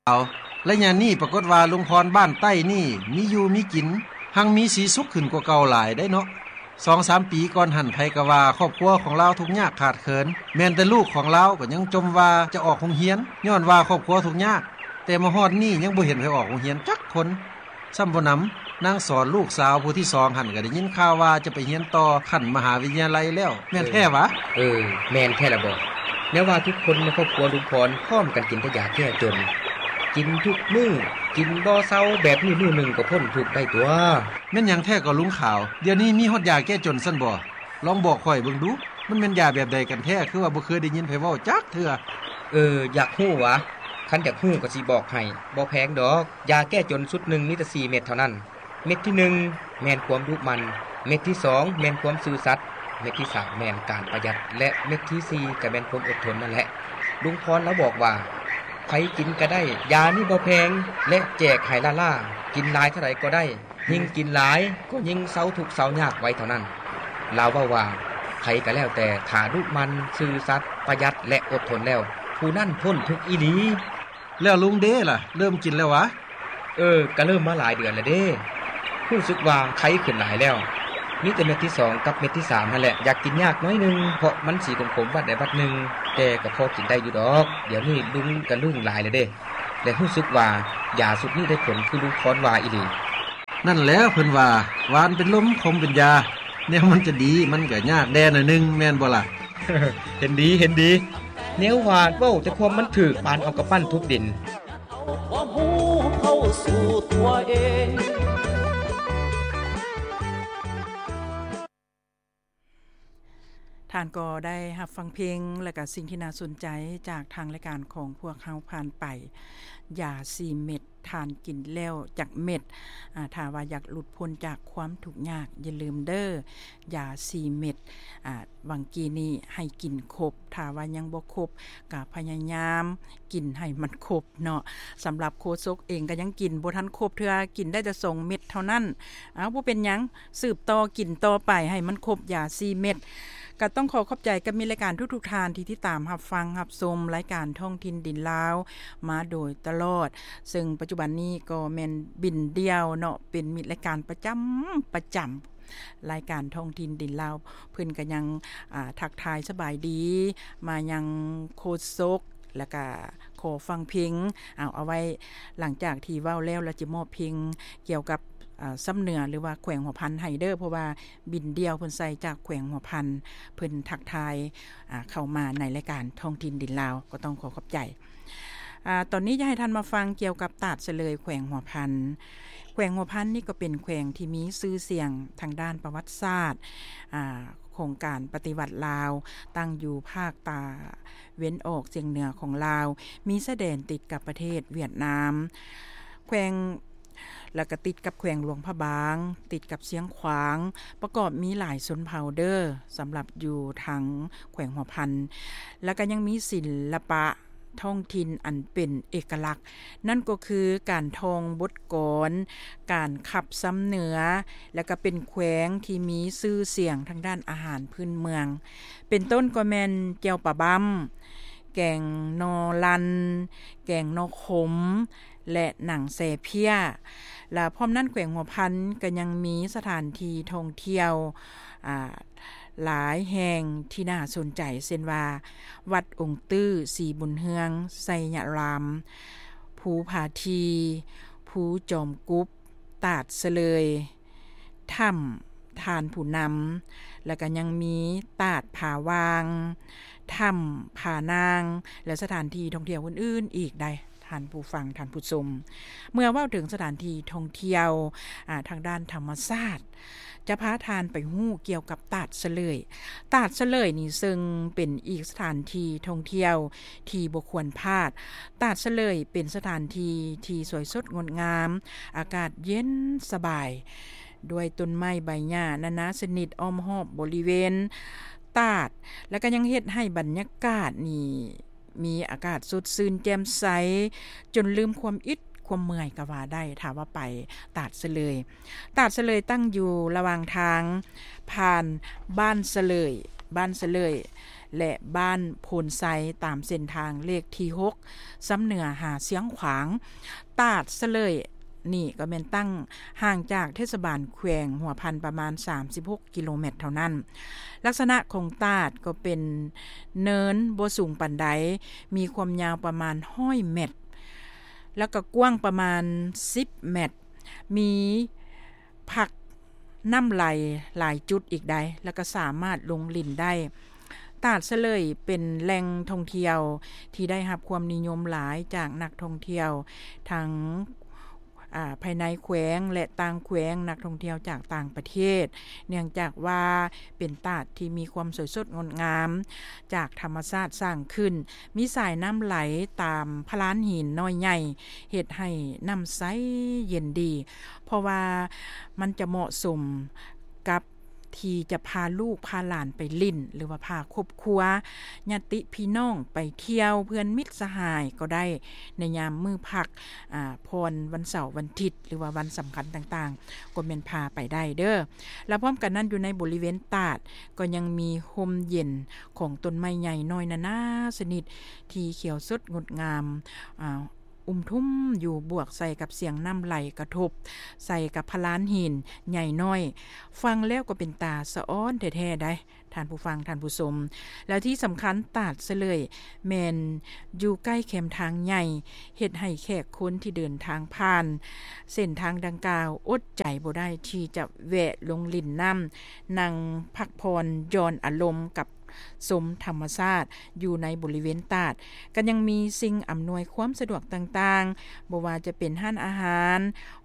ລາວ. ໄລຍະນີ້ປາກົດວ່າລຸງພອນບ້ານໃຕ້ນີ້ມີຢູ່ມີກິນ ຮັ່ງມີສີສຸກຂຶ້ນກວ່າເກົ່າຫຼາຍໄດ໋ເນາະ. ສອງສາມປີກ່ອນຫັ້ນ ໃຜກໍວ່າຄອບຄົວຂອງລາວທຸກຍາກຂາດເຂີນ, ແມ່ນແຕ່ລູກຂອງລາວກໍຍັງຈົ່ມວ່າຈະອອກໂຮງຮຽນ ຍ້ອນວ່າຄອບຄົວທຸກຍາກ, ແຕ່ມາຮອດນີ້ຍັງບໍ່ເຫັນໃຜອອກໂຮງຮຽນຈັກຄົນ. ຊ້ຳບໍ່ໜຳ ນາງສອນລູກສາວຜູ້ທີສອງຫັ້ນ ກໍໄດ້ຍິນຂ່າວວ່າຈະໄປຮຽນຕໍ່ຂັ້ນມະຫາວິທະຍາໄລແລ້ວ ແມ່ນແທ້ຫວາ? ເອີ ແມ່ນແທ້ລະບໍ. ແນວວ່າທຸກຄົນໃນຄອບຄົວລຸງພອນພ້ອມກັນກິນແຕ່ຢາແກ້ຈົນ, ກິນທຸກມື້ ກິນບໍ່ເຊົາແບບນີ້ ມື້ໜຶ່ງກໍພົ້ນທຸກໄດ້ຕົວະ. ແມ່ນຫຍັງແທ້ກໍລຸງຂາວ? ດຽວນີ້ມີຮອດຢາແກ້ຈົນຊັ້ນບໍ? ລອງບອກຂ້ອຍເບິ່ງດູ, ມັນແມ່ນຢາແບບໃດກັນແທ້? ຄືວ່າບໍ່ເຄີຍໄດ້ຍິນໃຜເວົ້າຈັກເທື່ອ. ເອີ ຢາກຮູ້ຫວາ? ຄັນຢາກຮູ້ກໍຊິບອກໃຫ້, ບໍ່ແພງດອກ. ຢາແກ້ຈົນຊຸດໜຶ່ງມີແຕ່ສີ່ເມັດເທົ່ານັ້ນ. ເມັດທີໜຶ່ງແມ່ນຄວາມດຸໝັ່ນ, ເມັດທີສອງແມ່ນຄວາມຊື່ສັດ, ເມັດທີສາມແມ່ນການປະຢັດ ແລະ ເມັດທີສີ່ກໍແມ່ນຄວາມອົດທົນນັ້ນແຫຼະ. ລຸງພອນລາວບອກວ່າ ໃຜກິນກໍໄດ້, ຢານີ້ບໍ່ແພງ ແລະ ແຈກໃຫ້ລ້າໆ, ກິນຫຼາຍເທົ່າໃດກໍໄດ້. ຍິ່ງກິນຫຼາຍກໍຍິ່ງເຊົາທຸກເຊົາຍາກໄວເທົ່ານັ້ນ. ລາວເວົ້າວ່າ ໃຜກໍແລ້ວແຕ່ ຖ້າດຸໝັ່ນ, ຊື່ສັດ, ປະຢັດ ແລະ ອົດທົນແລ້ວ, ຜູ້ນັ້ນພົ້ນທຸກອີ່ຫຼີ. ແລ້ວລຸງເດລະ ເລີ່ມກິນແລ້ວຫວາ? ເອີ ກະເລີ່ມມາຫຼາຍເດືອນແລ້ວເດ້. ຮູ້ສຶກວ່າໄຄຂຶ້ນຫຼາຍແລ້ວ. ມີແຕ່ເມັດທີສອງກັບເມັດທີສາມຫັ້ນແຫຼະ ຢາກກິນຍາກໜ້ອຍໜຶ່ງ ເພາະມັນສີຂົມໆວັດໃດວັດໜຶ່ງ, ແຕ່ກໍພໍກິນໄດ້ຢູ່ດອກ. ດຽວນີ້ລຸງກະລຶ້ງຫຼາຍແລ້ວເດ້ ແລະ ຮູ້ສຶກວ່າຢາຊຸດນີ້ໄດ້ຜົນຄືລຸງພອນວ່າອີ່ຫຼີ. ນັ້ນແຫຼະ ເພິ່ນວ່າ ຫວານເປັນລົມ ຂົມເປັນຢາ, ແນວມັນຈະດີ ມັນກະຍາກແດ່ໜ້ອຍໜຶ່ງ ແມ່ນບໍ່ລະ? ເຫັນດີ ເຫັນດີ. ແນວວ່າເວົ້າແຕ່ຄວາມມັນຖືກ ປານເອົາກຳປັ້ນທຸບດິນ. ທ່ານກໍໄດ້ຮັບຟັງເພງ ແລະກະສິ່ງທີ່ໜ້າສົນໃຈຈາກທາງລາຍການຂອງພວກເຮົາຜ່ານໄປ. ຢາສີ່ເມັດ ທ່ານກິນແລ້ວຈັກເມັດ? ອາ ຖ້າວ່າຢາກຫຼຸດພົ້ນຈາກຄວາມທຸກຍາກ ຢ່າລືມເດີ ຢາສີ່ເມັດ ອາ ຫວ່າງກີ້ນີ້ໃຫ້ກິນຄົບ, ຖ້າວ່າຍັງບໍ່ຄົບ ກະພະຍາຍາມກິນໃຫ້ມັນຄົບເນາະ. ສຳລັບໂຄສົກເອງກະຍັງກິນບໍ່ທັນຄົບເທື່ອ, ກິນໄດ້ແຕ່ສອງເມັດເທົ່ານັ້ນ. ເອົາ ບໍ່ເປັນຫຍັງ, ສືບຕໍ່ກິນຕໍ່ໄປໃຫ້ມັນຄົບຢາສີ່ເມັດ. ກະຕ້ອງຂໍຂອບໃຈກັບມິດລາຍການທຸກໆທ່ານທີ່ຕິດຕາມຮັບຟັງຮັບຊົມລາຍການທ້ອງຖິ່ນດິນລາວມາໂດຍຕະຫຼອດ, ເຊິ່ງປັດຈຸບັນນີ້ກໍແມ່ນບິນດ່ຽວເນາະ ເປັນມິດລາຍການປະຈຳ ປະຈຳ ລາຍການທ້ອງຖິ່ນດິນລາວ. ເພິ່ນກະຍັງ ອາ ທັກທາຍສະບາຍດີມາຍັງໂຄສົກ ແລ້ວກະຂໍຟັງເພງ. ເອົາ ເອົາໄວ້ຫຼັງຈາກທີ່ເວົ້າແລ້ວ ແລ້ວຈະມອບເພງກ່ຽວກັບ ອາ ຊຳເໜືອ ຫຼືວ່າແຂວງຫົວພັນໃຫ້ເດີ, ເພາະວ່າບິນດ່ຽວເພິ່ນໃສ່ຈາກແຂວງຫົວພັນ ເພິ່ນທັກທາຍ ອາ ເຂົ້າມາໃນລາຍການທ້ອງຖິ່ນດິນລາວ ກໍຕ້ອງຂໍຂອບໃຈ. ອາ ຕອນນີ້ຈະໃຫ້ທ່ານມາຟັງກ່ຽວກັບຕາດສະເຫຼີຍແຂວງຫົວພັນ. ແຂວງຫົວພັນນີ້ກໍເປັນແຂວງທີ່ມີຊື່ສຽງທາງດ້ານປະຫວັດສາດ ອາ ຂອງການປະຕິວັດລາວ, ຕັ້ງຢູ່ພາກຕາເວັນອອກສຽງເໜືອຂອງລາວ, ມີຊາຍແດນຕິດກັບປະເທດຫວຽດນາມ, ແຂວງ ແລ້ວກະຕິດກັບແຂວງຫຼວງພະບາງ, ຕິດກັບຊຽງຂວາງ, ປະກອບມີຫຼາຍຊົນເຜົ່າເດີ ສຳລັບຢູ່ທາງແຂວງຫົວພັນ, ແລ້ວກະຍັງມີສິລະປະທ້ອງຖິ່ນອັນເປັນເອກະລັກ, ນັ້ນກໍຄືການທ່ອງບົດກອນ, ການຂັບຊຳເໜືອ, ແລ້ວກະເປັນແຂວງທີ່ມີຊື່ສຽງທາງດ້ານອາຫານພື້ນເມືອງ, ເປັນຕົ້ນກໍແມ່ນແຈ່ວປາບ້ຳ, ແກງໜໍ່ລັນ, ແກງໜໍ່ຂົມ ແລະ ໜັງແຊເພຍ. ລະພ້ອມນັ້ນແຂວງຫົວພັນກໍຍັງມີສະຖານທີ່ທ່ອງທ່ຽວ ອາ ຫຼາຍແຫ່ງທີ່ໜ້າສົນໃຈ ເຊັ່ນວ່າ ວັດອົງຕື້ສີບຸນເຮືອງ, ໄຊຍະລາມ, ພູຜາຖີ່, ພູຈອມກຸບ, ຕາດສະເຫຼີຍ, ຖ້ຳທ່ານຜູ້ນຳ, ແລ້ວກໍຍັງມີຕາດຜາຫວ່າງ, ຖ້ຳຜານາງ ແລະ ສະຖານທີ່ທ່ອງທ່ຽວອື່ນໆອີກໄດ໋ ທ່ານຜູ້ຟັງ, ທ່ານຜູ້ຊົມ. ເມື່ອເວົ້າເຖິງສະຖານທີ່ທ່ອງທ່ຽວ ອາ ທາງດ້ານທຳມະຊາດ, ຈະພາທ່ານໄປຮູ້ກ່ຽວກັບຕາດສະເຫຼີຍ. ຕາດສະເຫຼີຍນີ້ເຊິ່ງເປັນອີກສະຖານທີ່ທ່ອງທ່ຽວທີ່ບໍ່ຄວນພາດ. ຕາດສະເຫຼີຍເປັນສະຖານທີ່ທີ່ສວຍສົດງົດງາມ, ອາກາດເຢັນສະບາຍ ດ້ວຍຕົ້ນໄມ້ໃບຫຍ້ານານາຊະນິດອ້ອມຮອບບໍລິເວນຕາດ, ແລ້ວກໍຍັງເຮັດໃຫ້ບັນຍາກາດນີ້ມີອາກາດສົດຊື່ນແຈ່ມໃສ ຈົນລືມຄວາມອິດຄວາມເມື່ອຍກໍວ່າໄດ້ ຖ້າວ່າໄປຕາດສະເຫຼີຍ. ຕາດສະເຫຼີຍຕັ້ງຢູ່ລະຫວ່າງທາງຜ່ານບ້ານສະເຫຼີຍ, ບ້ານສະເຫຼີຍ ແລະ ບ້ານໂພນໄຊ ຕາມເສັ້ນທາງເລກທີຫົກ ຊຳເໜືອຫາຊຽງຂວາງ. ຕາດສະເຫຼີ່ຍນີ້ກໍແມ່ນຕັ້ງຫ່າງຈາກເທດສະບານແຂວງຫົວພັນປະມານສາມສິບຫົກກິໂລແມັດເທົ່ານັ້ນ. ລັກສະນະຂອງຕາດກໍເປັນເນີນບໍ່ສູງປານໃດ, ມີຄວາມຍາວປະມານຮ້ອຍແມັດ ແລ້ວກໍກວ້າງປະມານສິບແມັດ, ມີ ພັກນ້ຳໄຫຼຫຼາຍຈຸດອີກໃດ໋ ແລ້ວກໍສາມາດລົງຫຼິ້ນໄດ້. ຕາດສະເຫຼີ່ຍເປັນແຫຼ່ງທ່ອງທ່ຽວທີ່ໄດ້ຮັບຄວາມນິຍົມຫຼາຍຈາກນັກທ່ອງທ່ຽວທັງ ອາ ພາຍໃນແຂວງ ແລະ ຕ່າງແຂວງ, ນັກທ່ອງທ່ຽວຈາກຕ່າງປະເທດ, ເນື່ອງຈາກວ່າເປັນຕາດທີ່ມີຄວາມສວຍສົດງົດງາມຈາກທຳມະຊາດສ້າງຂຶ້ນ, ມີສາຍນ້ຳໄຫຼຕາມພະລານຫີນນ້ອຍໃຫຍ່ ເຮັດໃຫ້ນ້ຳໃສເຢັນດີ. ເພາະວ່າມັນຈະເໝາະສົມກັບທີ່ຈະພາລູກພາຫຼານໄປຫຼິ້ນ ຫຼືວ່າພາຄອບຄົວ ຍາດຕິພີ່ນ້ອງໄປທ່ຽວ ເພື່ອນມິດສະຫາຍກໍໄດ້ ໃນຍາມມື້ພັກ ອາ ຜ່ອນວັນເສົາວັນທິດ ຫຼືວ່າວັນສຳຄັນຕ່າງໆ ກໍແມ່ນພາໄປໄດ້ເດີ້. ແລ້ວພ້ອມກັນນັ້ນ ຢູ່ໃນບໍລິເວນຕາດ ກໍຍັງມີຮົ່ມເຢັນຂອງຕົ້ນໄມ້ໃຫຍ່ນ້ອຍນານາຊະນິດ ທີ່ຂຽວສົດງົດງາມ ອາ ອຸມທຸມຢູ່ ບວກໃສ່ກັບສຽງນ້ຳໄຫຼກະທົບໃສ່ກັບພະລານຫີນໃຫຍ່ນ້ອຍ, ຟັງແລ້ວກໍເປັນຕາສະອອນແທ້ໆໃດ໋ ທ່ານຜູ້ຟັງ ທ່ານຜູ້ຊົມ. ແລ້ວທີ່ສຳຄັນ ຕາດສະເຫຼີ່ຍແມ່ນຢູ່ໃກ້ແຄມທາງໃຫຍ່, ເຮັດໃຫ້ແຂກຄົນທີ່ເດີນທາງຜ່ານເສັ້ນທາງດັ່ງກ່າວ ອົດໃຈບໍ່ໄດ້ທີ່ຈະແວະລົງຫຼິ້ນນ້ຳ, ນັ່ງພັກຜ່ອນຢ່ອນອາລົມກັບ ຊົມທຳມະຊາດຢູ່ໃນບໍລິເວນຕາດ, ກໍຍັງມີສິ່ງອຳນວຍຄວາມສະດວກຕ່າງໆ, ບໍ່ວ່າຈະເປັນຮ້ານອາຫານ,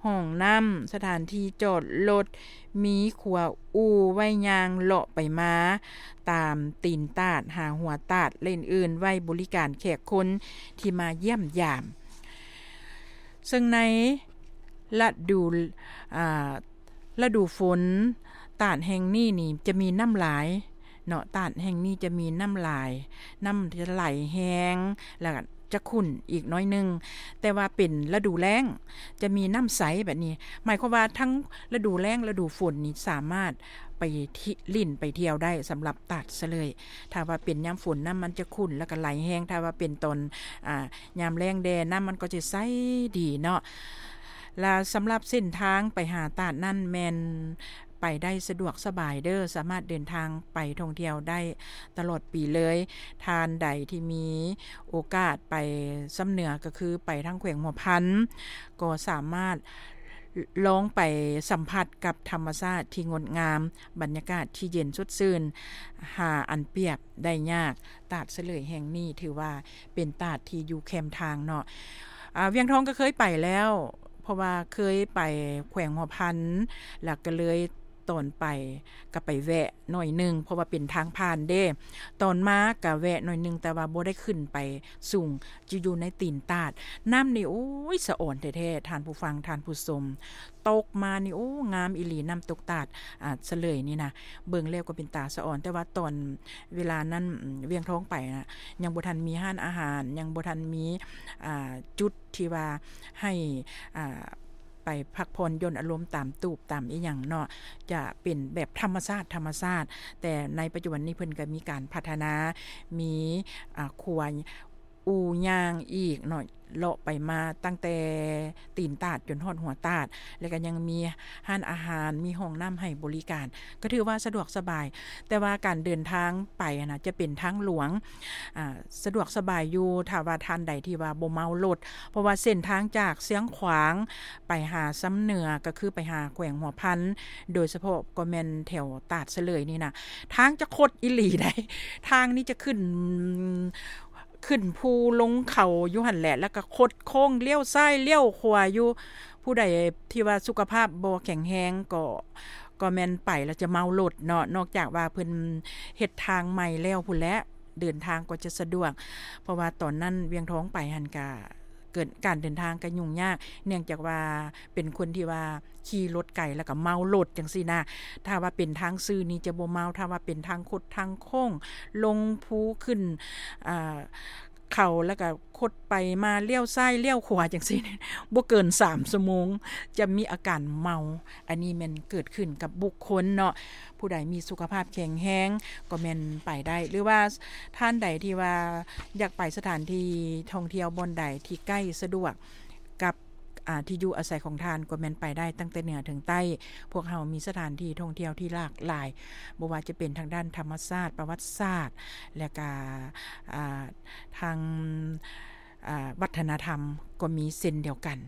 ຫ້ອງນ້ຳ, ສະຖານທີ່ຈອດລົດ, ມີຂົວອູ່ໄວ້ຍ່າງເລາະໄປມາຕາມຕີນຕາດ, ຫາຫົວຕາດ ແລະ ອື່ນໆ ໄວ້ບໍລິການແຂກຄົນທີ່ມາຢ້ຽມຢາມ. ເຊິ່ງໃນລະດູ ອາ ລະດູຝົນ, ຕາດແຫ່ງນີ້ນີ້ຈະມີນ້ຳຫຼາຍເນາະ, ຕາດແຫ່ງນີ້ຈະມີນ້ຳຫຼາຍ, ນ້ຳຈະໄຫຼແຮງ ແລ້ວກໍຈະຂຸ້ນອີກໜ້ອຍໜຶ່ງ, ແຕ່ວ່າເປັນລະດູແລ້ງຈະມີນ້ຳໃສແບບນີ້. ໝາຍຄວາມວ່າທັງລະດູແລ້ງ, ລະດູຝົນນີ້ສາມາດໄປ ລິ້ນໄປທ່ຽວໄດ້ສຳລັບຕາດສະເຫຼີ່ຍ. ຖ້າວ່າເປັນຍາມຝົນ ນ້ຳມັນຈະຂຸ້ນ ແລ້ວກໍໄຫຼແຮງ, ຖ້າວ່າເປັນຕອນ ອາ ຍາມແລ້ງແດ່ ນ້ຳມັນກໍຈະໃສດີເນາະ. ແລະ ສຳລັບເສັ້ນທາງໄປຫາຕາດນັ້ນແມ່ນໄປໄດ້ສະດວກສະບາຍເດີ້, ສາມາດເດີນທາງໄປທ່ອງທ່ຽວໄດ້ຕະຫຼອດປີເລີຍ. ທ່ານໃດທີ່ມີໂອກາດໄປຊຳເໜືອ ກໍຄືໄປທາງແຂວງຫົວພັນ ກໍສາມາດລອງໄປສຳຜັດກັບທຳມະຊາດທີ່ງົດງາມ, ບັນຍາກາດທີ່ເຢັນສົດຊື່ນ ຫາອັນປຽບໄດ້ຍາກ. ຕາດສະເຫຼີ່ຍແຫ່ງນີ້ຖືວ່າເປັນຕາດທີ່ຢູ່ແຄມທາງເນາະ. ອາ ວຽງທອງກໍເຄີຍໄປແລ້ວ, ເພາະວ່າເຄີຍໄປແຂວງຫົວພັນ ແລ້ວກໍເລີຍຕອນໄປກໍໄປແວະໜ້ອຍໜຶ່ງ ເພາະວ່າເປັນທາງຜ່ານເດ້. ຕອນມາກໍແວະໜ້ອຍໜຶ່ງ ແຕ່ວ່າບໍ່ໄດ້ຂຶ້ນໄປສູງ, ຈະຢູ່ໃນຕີນຕາດ. ນ້ຳນີ້ ໂອ້ຍ ສະອອນແທ້ໆ ທ່ານຜູ້ຟັງ ທ່ານຜູ້ຊົມ. ຕົກມານີ້ ໂອ້ ງາມອີ່ຫຼີ, ນ້ຳຕົກຕາດ ອາ ສະເຫຼີ່ຍນີ້ນະ, ເບິ່ງແລ້ວກໍເປັນຕາສະອອນ. ແຕ່ວ່າຕອນເວລານັ້ນ ອາ ວຽງທອງໄປນະ ຍັງບໍ່ທັນມີຮ້ານອາຫານ, ຍັງບໍ່ທັນມີ ອາ ຈຸດທີ່ວ່າໃຫ້ ອາ ໄປພັກຜ່ອນຢ່ອນອາລົມຕາມຕູບຕາມອີ່ຫຍັງເນາະ, ຈະເປັນແບບທຳມະຊາດ ທຳມະຊາດ. ແຕ່ໃນປັດຈຸບັນນີ້ເພິ່ນກໍມີການພັດທະນາ, ມີ ອາ ຂົວ ອູ່ຍ່າງອີກເນາະ, ເລາະໄປມາຕັ້ງແຕ່ຕີນຕາດຈົນຮອດຫົວຕາດ, ແລ້ວກໍຍັງມີຮ້ານອາຫານ, ມີຫ້ອງນ້ຳໃຫ້ບໍລິການ, ກໍຖືວ່າສະດວກສະບາຍ. ແຕ່ວ່າການເດີນທາງໄປຫັ້ນນະ ຈະເປັນທາງຫຼວງ, ອາ ສະດວກສະບາຍຢູ່ ຖ້າວ່າທ່ານໃດທີ່ວ່າບໍ່ເມົາລົດ, ເພາະວ່າເສັ້ນທາງຈາກຊຽງຂວາງໄປຫາຊຳເໜືອ ກໍຄືໄປຫາແຂວງຫົວພັນ, ໂດຍສະເພາະກໍແມ່ນແຖວຕາດສະເຫຼີ່ຍນີ້ນະ, ທາງຈະຄົດອີ່ຫຼີໃດ໋. ທາງນີ້ຈະຂຶ້ນ ຂຶ້ນພູລົງເຂົາຢູ່ຫັ້ນແຫຼະ, ແລ້ວກໍຄົດໂຄ້ງລ້ຽວຊ້າຍລ້ຽວຂວາຢູ່. ຜູ້ໃດທີ່ວ່າສຸຂະພາບບໍ່ແຂງແຮງກໍ ກໍແມ່ນໄປແລ້ວຈະເມົາລົດເນາະ, ນອກຈາກວ່າເພິ່ນເຮັດທາງໃໝ່ແລ້ວພຸ້ນແຫຼະ, ເດີນທາງກໍຈະສະດວກ. ເພາະວ່າຕອນນັ້ນວຽງທອງໄປຫັ້ນກະ ເກີດການເດີນທາງກໍຫຍຸ້ງຍາກ, ເນື່ອງຈາກວ່າເປັນຄົນທີ່ວ່າຂີ່ລົດໄກ ແລ້ວກໍເມົາລົດຈັ່ງຊີ້ນະ. ຖ້າວ່າເປັນທາງຊື່ນີ້ຈະບໍ່ເມົາ, ຖ້າວ່າເປັນທາງຄົດທາງໂຄ້ງ ລົງພູຂຶ້ນ ອາ ເຂົ້າ ແລ້ວກໍຄົດໄປມາ ລ້ຽວຊ້າຍລ້ຽວຂວາຈັ່ງຊີ້ ບໍ່ເກີນສາມຊົ່ວໂມງ ຈະມີອາການເມົາ. ອັນນີ້ແມ່ນເກີດຂຶ້ນກັບບຸກຄົນເນາະ. ຜູ້ໃດມີສຸຂະພາບແຂງແຮງກໍແມ່ນໄປໄດ້ ຫຼືວ່າທ່ານໃດທີ່ວ່າຢາກໄປສະຖານທີ່ທ່ອງທ່ຽວບ່ອນໃດທີ່ໃກ້ສະດວກກັບ ອ່າ ທີ່ຢູ່ອາໄສຂອງທ່ານ ກໍແມ່ນໄປໄດ້ຕັ້ງແຕ່ເໜືອເຖິງໃຕ້. ພວກເຮົາມີສະຖານທີ່ທ່ອງທ່ຽວທີ່ຫຼາກຫຼາຍ ບໍ່ວ່າຈະເປັນທາງດ້ານທຳມະຊາດ, ປະຫວັດສາດ ແລະກະ ອ່າ ທາງ ອ່າ ວັດທະນະທຳກໍມີເຊັ່ນດຽວກັນ.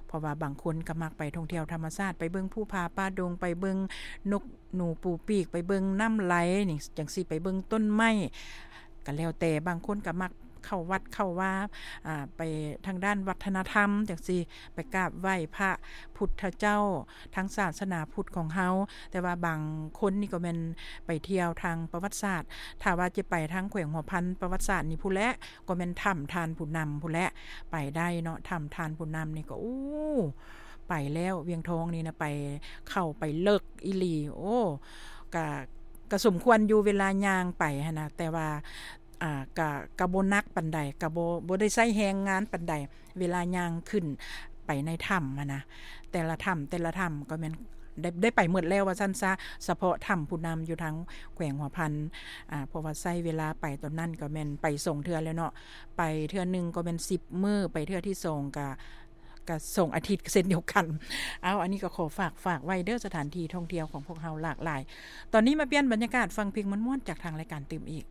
ເພາະວ່າບາງຄົນກໍມັກໄປທ່ອງທ່ຽວທຳມະຊາດ ໄປເບິ່ງພູຜາປ່າດົງ, ໄປເບິ່ງນົກໜູປູປີກ, ໄປເບິ່ງນ້ຳໄຫຼນີ້ ຈັ່ງຊີ້, ໄປເບິ່ງຕົ້ນໄມ້ ກໍແລ້ວແຕ່. ບາງຄົນກໍມັກເຂົ້າວັດເຂົ້າວາ ອ່າ ໄປທາງດ້ານວັດທະນະທຳຈັ່ງຊີ້, ໄປກາບໄຫວ້ພະພຸດທະເຈົ້າ ທາງສາສະໜາພຸດຂອງເຮົາ. ແຕ່ວ່າບາງຄົນນີ້ກໍແມ່ນໄປທ່ຽວທາງປະຫວັດສາດ. ຖ້າວ່າຈະໄປທາງແຂວງຫົວພັນ ປະຫວັດສາດນີ້ພຸ້ນແຫຼະ ກໍແມ່ນຖ້ຳທ່ານຜູ້ນຳພຸ້ນແຫຼະ ໄປໄດ້ເນາະ. ຖ້ຳທ່ານຜູ້ນຳນີ້ກໍ ໂອ້ ໄປແລ້ວ ວຽງທອງນີ້ນະ ໄປ ເຂົ້າໄປເລິກອີ່ຫຼີ. ໂອ້ ກະ ກະສົມຄວນຢູ່ເວລາຍ່າງໄປຫັ້ນນະ ແຕ່ວ່າ ອ່າ ກະ ກະບໍ່ໜັກປານໃດ ກະບໍ່ ບໍ່ໄດ້ໃຊ້ແຮງງານປານໃດ ເວລາຍ່າງຂຶ້ນໄປໃນຖ້ຳຫັ້ນນະ. ແຕ່ລະຖ້ຳ ແຕ່ລະຖ້ຳກໍແມ່ນໄດ້ ໄດ້ໄປໝົດແລ້ວວ່າຊັ້ນຊະ ສະເພາະຖ້ຳຜູ້ນຳຢູ່ທາງແຂວງຫົວພັນ. ອ່າ ເພາະວ່າໃຊ້ເວລາໄປຕອນນັ້ນກໍແມ່ນໄປສອງເທື່ອແລ້ວເນາະ ໄປເທື່ອໜຶ່ງກໍແມ່ນສິບມື້ ໄປເທື່ອທີສອງກະ ກະສອງອາທິດເຊັ່ນດຽວກັນ. ເອົາ ອັນນີ້ກໍຂໍຝາກ ຝາກໄວ້ເດີ ສະຖານທີ່ທ່ອງທ່ຽວຂອງພວກເຮົາຫຼາກຫຼາຍ. ຕອນນີ້ມາປ່ຽນບັນຍາກາດ ຟັງເພງມ່ວນໆຈາກທາງລາຍການຕື່ມອີກ.